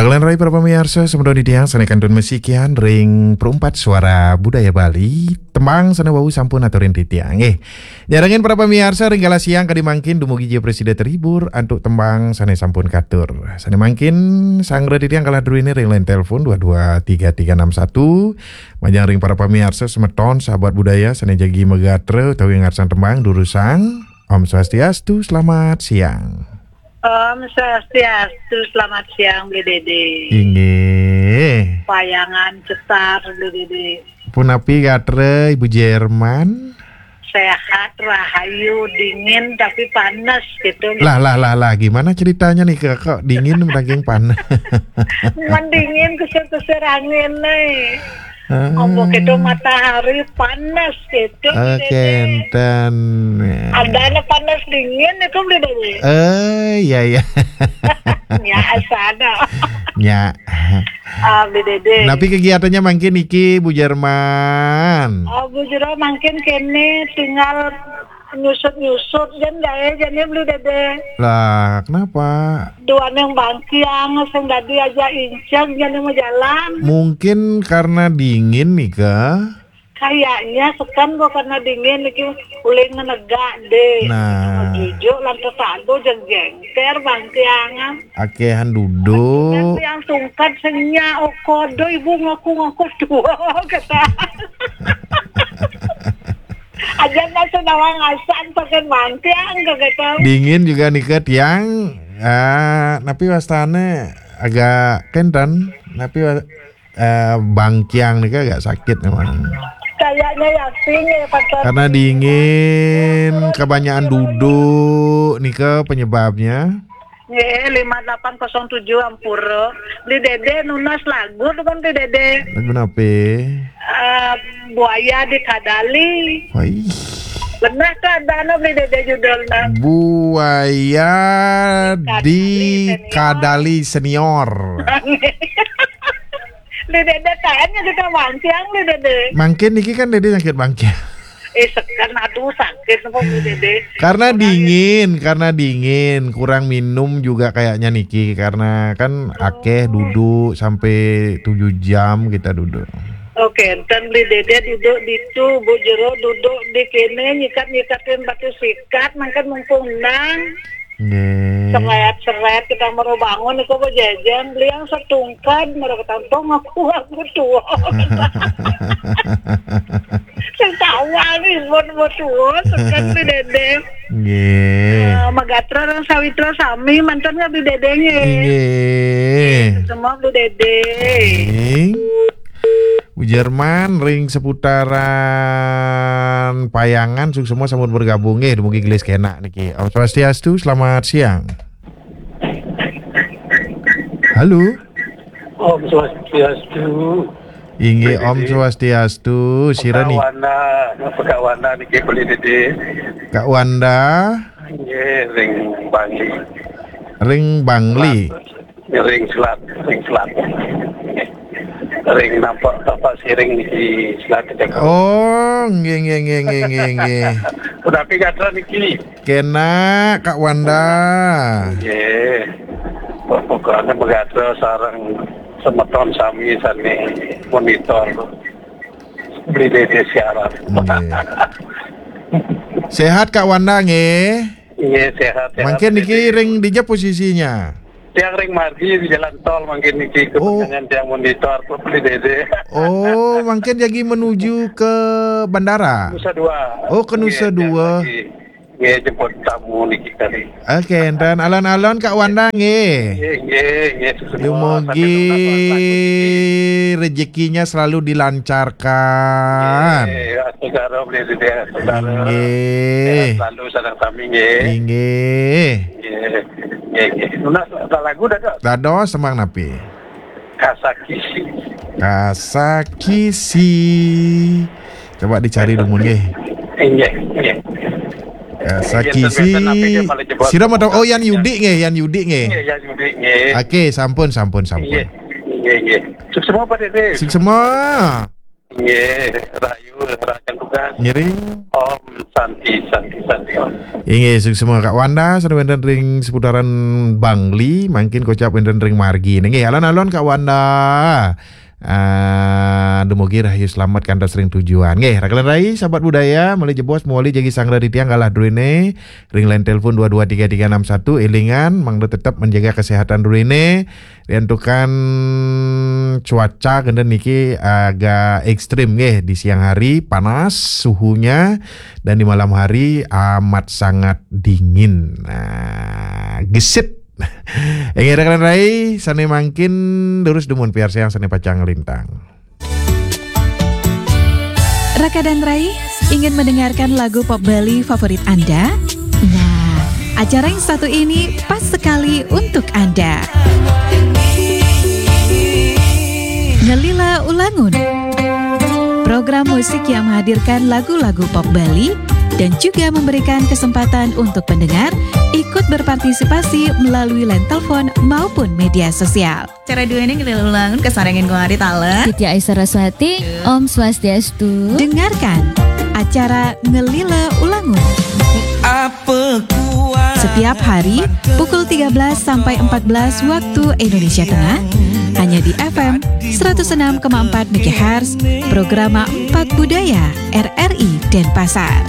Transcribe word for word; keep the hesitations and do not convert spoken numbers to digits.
Agelan rai para pamiarsa, semeton titiang sane kantun masikian ring Perumpat Suara Budaya Bali, tembang sane wau sampun aturin titiang. Nggih. Nyarengin para pamiarsa ring galah siang kadi mangkin dumugi ja prasida terhibur antuk tembang sane sampun katur. Sane mangkin sanggra titiang galah druene ring line telepon dua dua tiga tiga enam satu. Majeng ring para pamiarsa semeton sahabat budaya sane jagi magatra utawi ngarsang tembang durusang. Om Swastiastu, selamat siang. Om Swastiastu, selamat siang, Bli Dede. Inggih. Payangan cetar, Bli Dede. Punapi gatra, Ibu Jerman? Sehat, rahayu, dingin, tapi panas gitu. Lah, lah, lah, lah, gimana ceritanya nih, kok dingin daging panas? Mendingin kusir-kusir angin nih. Ah. Ombo keto matahari panas gitu, Bli Dede. Kenten. Adanya panas dingin itu, Bli Dede. Eh, iya, iya. Ya, asana. Ya. Ah, Bli Dede. Tapi kegiatannya mangkin niki, Bu Jerman? Ah, Bu Jero mangkin kene tinggal nyusut-nyusut, jen gae jane, Bli Dede. Lah, kenapa? Duaning bangkiang sing dadi aja inceg jane majalan. Mungkin karena dingin nih, Kak. Kayaknya seken kok karena dingin iki ulih ngenegak, Dek. Nah. Jujuk lan tetangga jeng jengker bangkiangan. Akehan duduk. Yang tungkat senya okodo ibu ngaku-ngaku tua kata. Aja nasa nawang asan pakai bangkiang kagak tahu. Dingin juga nih, Kak, yang, eh, tapi wastane agak kenten, tapi wa-, eh, bangkiang nih, Kak, agak sakit memang. Kayaknya yakin ya, Pak. Karena dingin, kebanyakan duduk nih, Kak, penyebabnya. Nggih, lima delapan kosong tujuh, ampura. Beli Dede nunas lagu tuh kan, Beli Dede. Lagu nape? Eh, Buaya di Kadali. Wah, ih. Benar tuh ada anu, Beli Dede, judulnya. Buaya di Kadali Senior. Beli Dede, kayaknya kita mancing, Beli Dede. Mangkin niki kan Dede sakit mangkin. Eh, sekan, aduh, sakit apa, Bu Dede? Karena dingin, karena dingin, kurang minum juga kayaknya niki, karena kan akeh duduk sampai tujuh jam kita duduk. Oke, enten Beli Dede duduk ditu, Bu Jero duduk di kene, nyikat-nyikatin batu sikat, mangkin mumpung nang. Nggih. Seret-seret kita mau bangun, iku Bu Jejen, beli yang setungkad, mereka tampung aku, aku tua. Sing tawa nih, buat buat tua, sekan Beli Dede. Nggih. Eh, Magatra dan Sawitra sami, mantan nggak Beli Dede nggih? Nggih. Semua Beli Dede. Nggih. Bu Jerman ring seputaran Payangan, suksma sampun bergabung nggih, dumugi gelis kenak niki. Om Swastiastu, selamat siang. Halo. Om Swastiastu. Inggih, Om Swastiastu. Sira ni? Kak Wanda, Kak Wanda niki, Beli Dede. Kak Wanda. Nggih, ring Bangli. Ring Bangli. Ring Selat, ring Selat. Ring nampak tapak siring di Selat Jakarta. Oh, nggih, nggih, nggih, nggih, nggih, nggih. Punapi gatra niki? Kenak, Kak Wanda. Nggih. Pokoknya magatra sareng semeton sami sane monitor Beli Dede siaran. Nggih. Sehat, Kak Wanda, nggih? Nggih, sehat, sehat, mangkin niki Beli Dede. Ring dija posisinya? Tiang ring margi di jalan tol mangkin niki, oh, kepentingan tiang monitor, Beli Dede. Oh, mangkin jagi menuju ke bandara? Nusa Dua. Oh, ke Nusa Dua. Nggih, tiang lagi. Nggih, jemput tamu niki kali. Oke, enten alon-alon Kak Wanda nggih. Nggih, nggih, nggih, suksma. Dumugi rezekinya selalu dilancarkan. Nggih, astagara, Beli Dede, astagara. Nggih. Sehat selalu sareng sami nggih. Nggih. Nggih, nggih, nggih. Nunas lagu dah, Dok? Dados, tembang napi? Kasakisi. Kasakisi. Coba dicari dulu, nggih. Inggih, inggih. Kasakisi. Inggih, biasa napi dia malah jebot. Sira mau tahu? Oh, Yan Yudi nggih, Yan Yudi nggih. Inggih, Yan Yudi nggih. Oke, sampun, sampun, sampun. Inggih, inggih, inggih. Suksma, Pak Dede. Suksma. Inggih, rahayu, rahayu. Ngiring. Om Santi, Santi, Santi, Om. Inggih, suksma Kak Wanda, sané wénten ring seputaran Bangli, mangkin kocap wénten ring margi. Inggih, alon-alon Kak Wanda. Ah, dumugi rahayu slamet kantos ring tujuan. Nggih, Raka lan Rai, sahabat budaya, malih jebos mawali jagi sanggra titiang galah druéné ring line telepon dua dua tiga tiga enam satu, élingan mangda tetep menjaga kesehatan druéné. Riantukan cuaca kénten niki agak ekstrim nggih, di siang hari panas suhunya dan di malam hari amat sangat dingin. Nah, gesit. Inggih, Raka lan Rai, sané mangkin durus dumun piarsayang sané pacang nglintang. Raka dan Rai, ingin mendengarkan lagu pop Bali favorit Anda? Nah, acara yang satu ini pas sekali untuk Anda. Ngelila Ulangun. Program musik yang menghadirkan lagu-lagu pop Bali dan juga memberikan kesempatan untuk pendengar ikut berpartisipasi melalui line telepon maupun media sosial. Acara duéné Ngelila Ulangun kasarengin Kuari Tala. Titi Aisyah Raswati, Om Swastiastu. Dengarkan acara Ngelila Ulangun. Setiap hari pukul tiga belas sampai empat belas waktu Indonesia Tengah, hanya di F M seratus enam koma empat megahertz, Programa empat Budaya, R R I Denpasar.